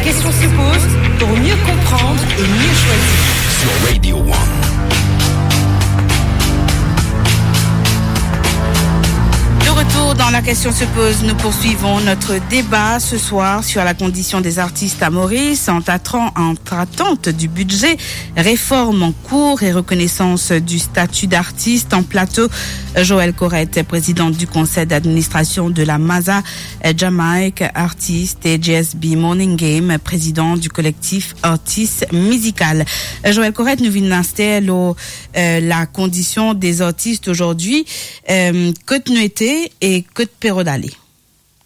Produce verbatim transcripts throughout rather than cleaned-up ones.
Question se pose pour mieux comprendre et mieux choisir. Sur Radio One. De retour dans La Question se pose, nous poursuivons notre débat ce soir sur la condition des artistes à Maurice, en tâtant, en tâtant du budget, réforme en cours et reconnaissance du statut d'artiste. En plateau, Joël Corette, présidente du conseil d'administration de la Maza, euh, Jamaïque Artist, et J S B Morning Game, président du collectif Artiste Musical. Euh, Joël Corette, nou vinn aster lor, euh, la condition des artistes aujourd'hui. Euh, kot nou ete e kot pe rod ale?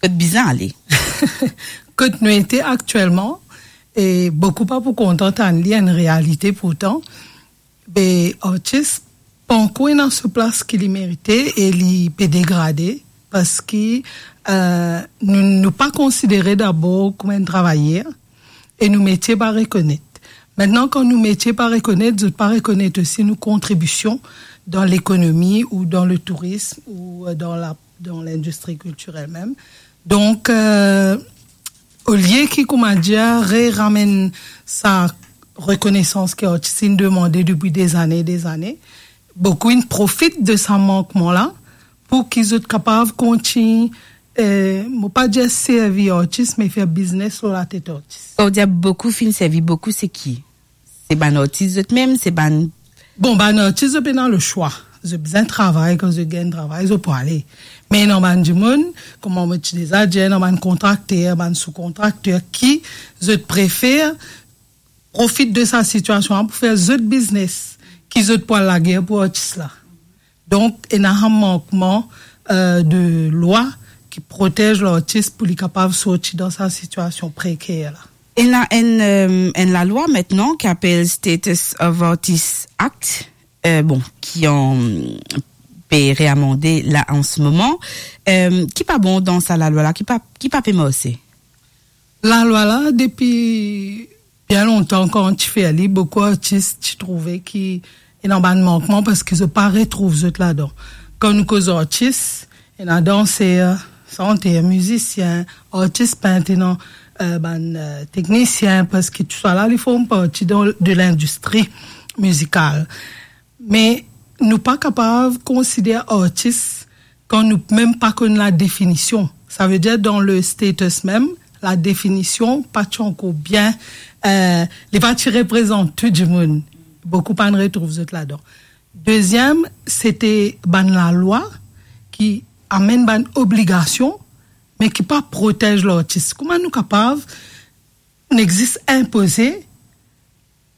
Kot bizin ale? Kot nou ete aktielman, e boukou pa pou kontan tann li, enn realite pourtan. Be, artis pankor ena so plas ki li merite e li pe degrade, parski, euh, nou, nou pa konsidere dabor kouma enn travayer e nou metie pa rekonet. Mintnan, kan nou metie pa rekonet, zot pa rekonet osi nou kontribision dan lekonomi ou dan le tourism ou, euh, dan la, dan lindistri kiltirel mem. Donk, euh, olie ki, koumadir, re-ramenn sa rekonesans ki artis inn demande depi dezane, dezane, boukou inn profit de sa mankman la pou ki zot kapav kontign, eh, mo pa dir servi artis, me fer biznes lor latet artis. Kan ou dir boukou finn servi, boukou se ki? Se bann artis zot mem, se bann... Bon, bann artis, zot pena leswa. Zot bizin travay, kan zot gagn travay, zot pou ale. Me ena bann dimoun, kouma mo ti deza dir, ena bann kontrakter, bann soukontrakter ki zot prefer profit de sa sitiasion la pou fer zot biznes, ki zot pou al lager pou artis la. Donk, ena enn mankman, euh, de lwa ki protez lartis pou li kapav sorti dan sa sitiasion preker la. Ena enn, euh, enn lalwa mintnan ki apel Status of Artist Act, euh, bon, ki an, pe reamande la an se moman. Euh, ki pa bon dan sa lalwa la, ki pa, ki pa pe marse? Lalwa la, depi bien lontan, kan ti fer li, boukou artis ti trouve ki ena bann mankman parski zot pa retrouv zot ladan. Kan nou koz artis, ena danser, santer, mizisien, artis pint, ena, euh, bann, euh, teknisien, parski tousala, li form parti dan, de lindistri mizikal. Me nou pa kapav konsider artis kan nou mem pa konn ladefinision. Savedir, dan le status mem, ladefinision pa ti ankor bien, euh, li pa ti reprezant tou dimoun. Boukou pa'nn retrouv zot ladan. Deziem, sete bann lalwa ki amenn bann obligasion, me ki pa protez lartis. Kouma nou kapav, nou exis inpoze,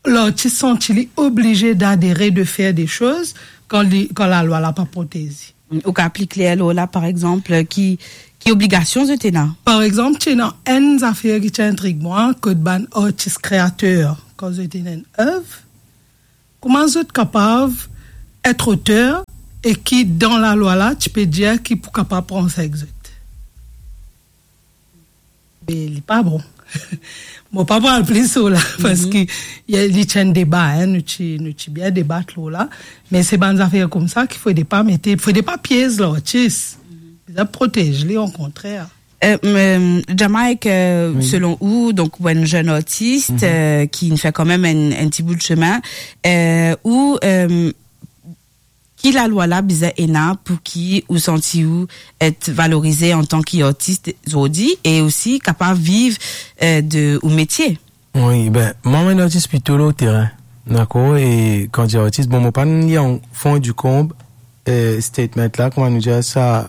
lartis santi li oblize d'adere, de fer de soz, kan li, kan lalwa la pa protez li. Ou kapav pli kler lor la, par exanp, ki, ki obligasion zot ena? Par exanp, ti ena enn zafer ki ti intrig mwa, kot bann artis kreater, kan zot ena enn ev, kouma zot kapav et oter e ki dan lalwa la, ti pe dir ki pou kapav pran sa ek zot? Be, li pa bon. Mo pa pou al plis lor la, parski li ti enn deba, hein, nou ti, nou ti bien debat lor la. Me se bann zafer koumsa ki fode pa mete, fode pa piez lartis. Bizin protez li, okontrer. Euh, euh, Jamaïque, euh, selon ou, donk, ou enn zenn artis, euh, ki finn fer kanmem enn, enn ti bout semin, euh, ou, euh, ki lalwa la bizin ena pou ki ou santi ou et valorize antan ki artis zordi e osi kapav viv, euh, de ou metie? Wi, be, mwa, mo enn artis plito lor terin, dakor? E kan dir artis, bon, mo pa'nn lir an fon e dikonb, euh, statement la, kouma nou dir sa,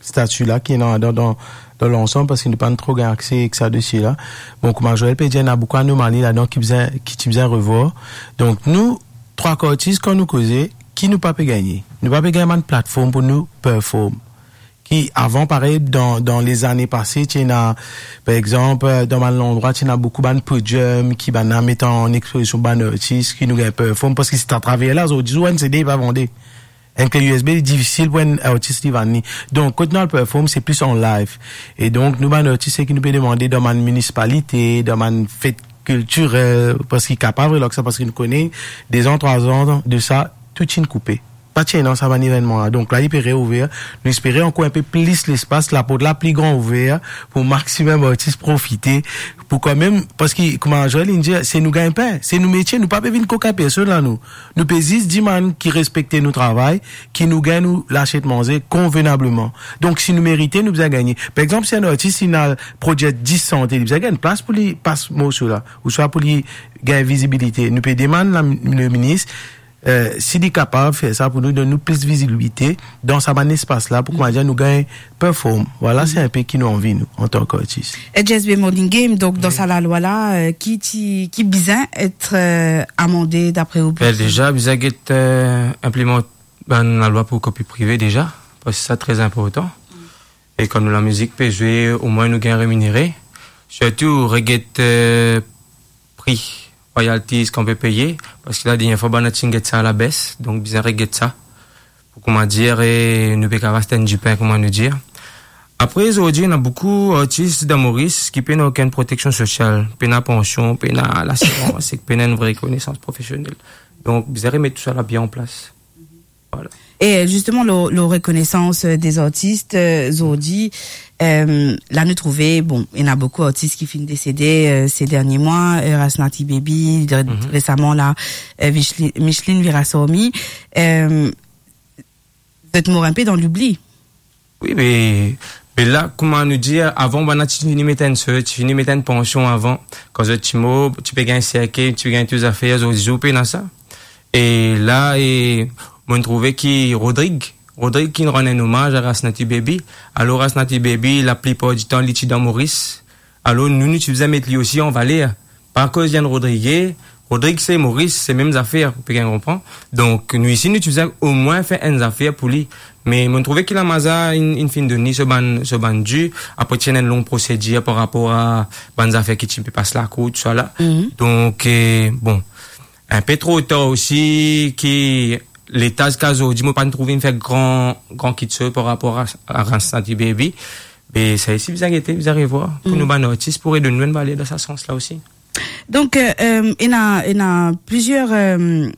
stati la ki ena dan, dan, dan lansam, parski nou pa'nn tro gagn akse ek sa dosie la. Bon, kouma Joël pe dir, ena boukou anomali ladan ki bizin, ki ti bizin revwar. Donk, nou, trwa artis, kan nou koze, ki nou pa pe gagne? Nou pa pe gagn bann platform pou nou perform. Ki avan, parey, dan, dan lezane pase, ti ena, par exanp, dan bann landrwa, ti ena boukou bann podium, ki bann la met an expozision bann artis, ki nou gagn perform, parski se atraver la, zordi, ou enn C D pa vande. Enn kle U S B, li difisil pou enn artis li vann li. Donk, kot nou al perform, se plis an live. E donk, nou bann artis, seki nou pe demande dan bann minisipalite, dan bann fet kiltirel, parski kapav relax sa, parski nou kone, dezan, trwazan de sa, tou ti'nn koupe. pa ti ena sa bann evennman la. Donk la, li pe reouver. Nou espere ankor inpe plis lespas, laport la pli gran ouver pou maximum artis profite, pou kanmem, parski kouma Joël inn dir, se nou gagn-pin, se nou metie, nou pa pe vinn kokin personn la, nou. Nou pe zis dimann ki respekte nou travay, ki nou gagn nou lasiet manze konvenableman. Donk, si nou merite, nou bizin gagne. Par exanp, si enn artis inn al prodwir dis sante, li bizin gagn plas pou li pas morso la, ouswa pou li gagn vizibilite. Nou pe demann la, le minis, eh, si li kapav fer sa pou nou, donn nou plis vizibilite dan sa bann espas la, pou kouma dir nou gagn perform. Vwala, se inpe ki nou anvi, nou, antan ki artis. E J S B Morning Game, donk, dan sa lalwa la, eh, ki ti, ki bizin et, eh, amande dapre ou? Ben, deza, bizin get, eh, inplimant bann lalwa pou kopi prive deza, parski sa tre inportan. E kan nou lamizik pe zwe, omwin nou gagn reminere. Sirtou, reget, eh, pri royalties kan pe peye, parski la, dernie fwa, bann la ti inn get sa alabes, donk bizin reget sa. Pou kouma dir, eh, nou pe kapav aste enn dipin, kouma nou dir. Apre, zordi, ena boukou artis dan Moris ki pena okenn proteksion sosial, pena pansion, pena lasirans, ek pena enn vre rekonesans profesionel. Donk, bizin remet tousala bien an plas. Vwala. E zisteman, lor, lor rekonesans, eh, dezartis, eh, zordi, eh, la nou trouve, bon, ena boukou artis ki finn desede, eh, se dernie mwa, eh, Rasnaty Baby, de-, resaman la, eh, Micheline, Micheline Virasormi, eh, zot mor inpe dan loubli. Wi, me, me la, kouma nou dir, avan, bann la ti fini met enn sort, ti fini met enn pansion avan. Kan zot ti mor, ti pe gagn serkey, ti pe gagn tou zafer, zordi zour pena sa. E la, e, mo'nn trouve ki Rodrig, Rodrig ki rann enn omaz a Rasnaty Baby. Alor, Rasnaty Baby, laplipar ditan, li ti dan Moris. Alor, nou, nou ti bizin met li osi an valer. Pa akoz li enn Rodrig, Rodrig se Moris, se mem zafer, ou pe gagn konpran. Donk, nou isi, nou ti bizin omwin fer enn zafer pou li. Me mo'nn trouve ki lamaz la inn, inn finn donn li so bann, so bann di. Apre, ti ena enn long prosedir par rapor a bann zafer ki ti pe pas lakour, tousala. Donk, eh, bon, inpe tro tar osi ki leta ziska zordi, mo pa'nn trouv inn fer gran, gran kiksoz par rapor a, a Rasnaty Baby. Me sa isi bizin gete, bizin revwar, pou nou bann artis, pou redonn nou enn valer dan sa sans la osi. Donk, eh, eh, ena, ena plizier, eh,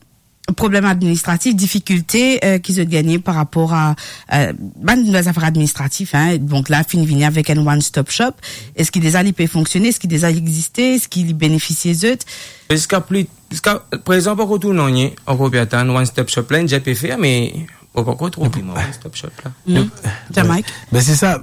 problem administratif, difikilte, eh, ki zot gagne par rapor a, eh, bann zafer administratif, hein. Donk la, finn vini avek enn one stop shop. Eski deza li pe fonksione? Eski deza li existe? Eski li benefisie zot? Ziska pli, ziska prezan, pankor trouv nanye, ankor pe atann one stop shop la, inn deza pe fer, me mo pankor trouv vremem one stop shop la. Jamaik. Ben, se sa,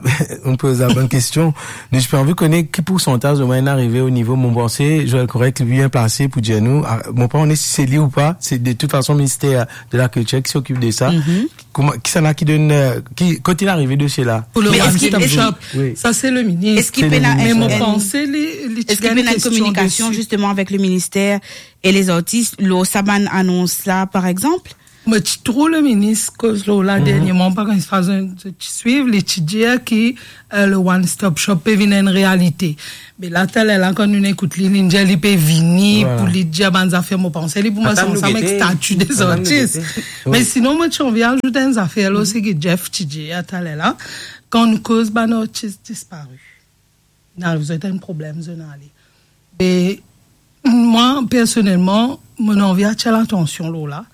nou poz la bonn kestion. Nou ti pe anvi kone ki poursantaz omwin inn arive o nivo, mo panse, Joël Correc li bien plase pou dir nou, ah, mo pa kone si se li ou pa, se de tout fason Minister de la Kiltir ki s'okip de sa. Kouma, kisannla ki donn, eh, ki, kot inn arive dosie la? Pou le one stop shop, sa se le minis. Eski pena, me mo panse li, li ti gagn enn kestion kominikasion desi, zisteman, avek le minister e lezartis, lor sa bann anons la, par exanp? Mo ti trouv le minis koz lor la dernieman, pa kan sa zot ti swiv, li ti dir ki, eh, le one stop shop pe vinn enn realite. Me la, taler la, kan nou ekout li, li dir li pe vini pou li dir bann zafer, mo panse li pou met ansanm ek stati dezartis. Me sinon, mo ti anvi azout enn zafer lor seki Jeff ti dir taler la, kan nou koz bann artis dispare. Inn ariv zot enn problem, zot inn ale. Me mwa, personelman, mo anvi atir latansion lor la,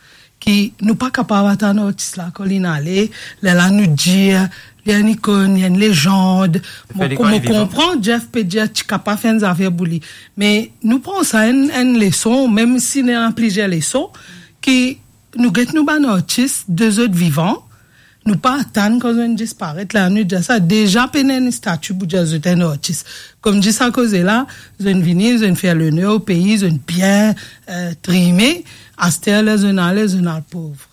ki nou pa kapav atann artis la kan linn ale, lerla nou dir, li enn ikonn, li enn lezand. Mo, mo konpran Jeff pe dir ti kapav fer enn zafer pou li. Me nou pran sa enn, enn leson, mem si ena plizier leson, ki nou get nou bann artis de zot vivan, nou pa atann kan zot inn disparet, la nou dir sa, deza pena enn stati pou dir zot enn artis. Kouma dir sa koze la, zot inn vini, zot inn fer loner o pei, zot inn bien, eh, trime, aster ler zot inn ale, zot inn al pov.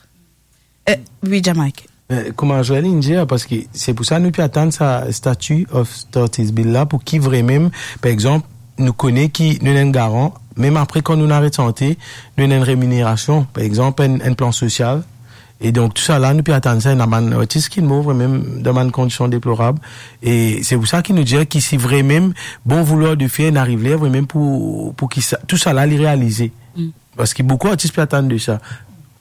Eh, wi, Jamaik. Eh, kouma Joël inn dir, parski se pou sa nou pe atann sa Statue of Artist Bill la, pou ki vremem, par exanp, nou kone ki nou ena enn garan, mem apre kan nou aret sante, nou ena enn reminerasion, par exanp, enn, enn plan sosial. E donk, tousala, nou pe atann sa, ena bann artis ki mor vremem dan bann kondision deplorab. E se pou sa ki nou dir ki si vremem, bon vouloir de fer, inn ariv ler vremem pou, pou ki sa, tousala li realize. Parski boukou artis pe atann de sa.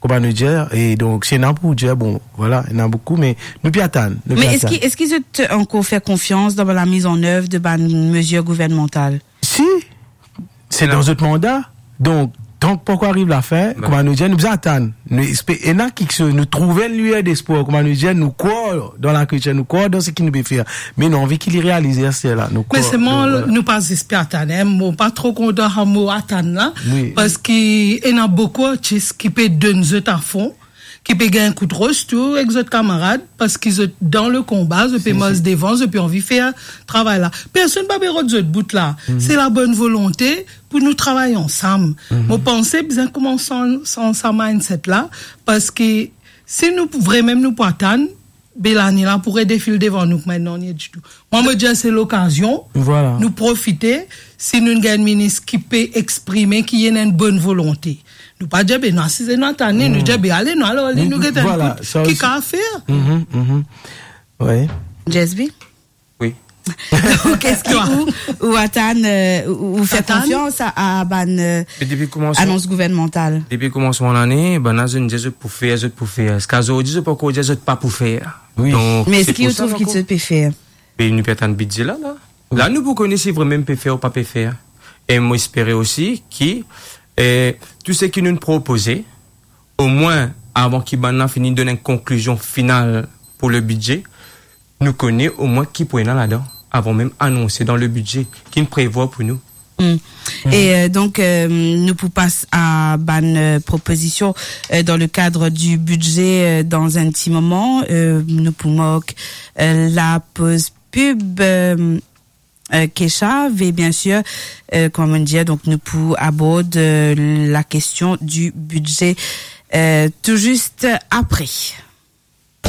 Kouma nou dir, e donk, si ena pou dir, bon, vwala, ena boukou, me nou pe atann, nou pe atann. Me eski, eski zot ankor fer konfians dan la mise en œuvre de bann mezir gouvernmantal? Si, se dan zot manda. Donk, tank pankor ariv lafin, kouma nou dir, nou bizin atann. Nou espe-, ena kiksoz, nou trouve enn lwier despwar, kouma nou dir, nou krwar dan lakiltir, nou krwar dan seki nou pe fer. Me nou anvi ki li realize aster la. Nou krwar, selman, nou, vwala, nou pa zis pe atann, en. Mo pa tro kontan sa mo atann la, wi, parski ena boukou artis ki pe donn zot afon, ki pe gagn kout ros tou ek zot kamarad, parski zot dan le konba, zot pe mars devan, zot pe anvi fer travay la. Personn pa pe rod zot bout la. Se labonn volonte pou nou travay ansam. Mo panse bizin koumans san, san sa mindset la, parski si nou pou, vremem nou pou atann, be lane la pou redefil devan nou, kouma ena ditou. Mwa, mo dir se lokazion, vwala, nou profite, si nou gagn minis ki pe exprime, ki ena enn bonn volonte. Nou pa dir, be, nou asize, nou atann li, nou dir, be, ale, nou al, ale, nou gete, vwala, ki kapav fer. Mhm, mhm. Wi. Jesby? Wi. Donk, eski ou, ou atann, euh, ou, ou fer konfians a, a bann, euh, anons gouvernmantal? Depi koumansman lane, bann la, zot dir zot pou fer, zot pou fer. Ziska zordi, zot pankor dir zot pa pou fer. Wi. Donk, me eski ou trouv ki zot pe fer? Be nou pe atann bidze la, la. La, nou pou kone si vremem pe fer ou pa pe fer. E mo espere osi ki, eh, tou seki nou propoze, omwin avan ki bann la fini donn enn konklizion final pou le bidze, nou kone omwin ki pou ena ladan, avan mem anonse dan le bidze, ki nou prevwar pou nou. Mm. E, euh, donk, euh, nou pou pas a bann, euh, propozision, euh, dan le kad di bidze, euh, dan enn ti moman. Euh, nou pou mark, euh, lapoz pib, euh, euh, Keshav, e biensir, euh, kouma mo dir, donk nou pou abord, euh, la kestion di bidze, euh, tou zis apre.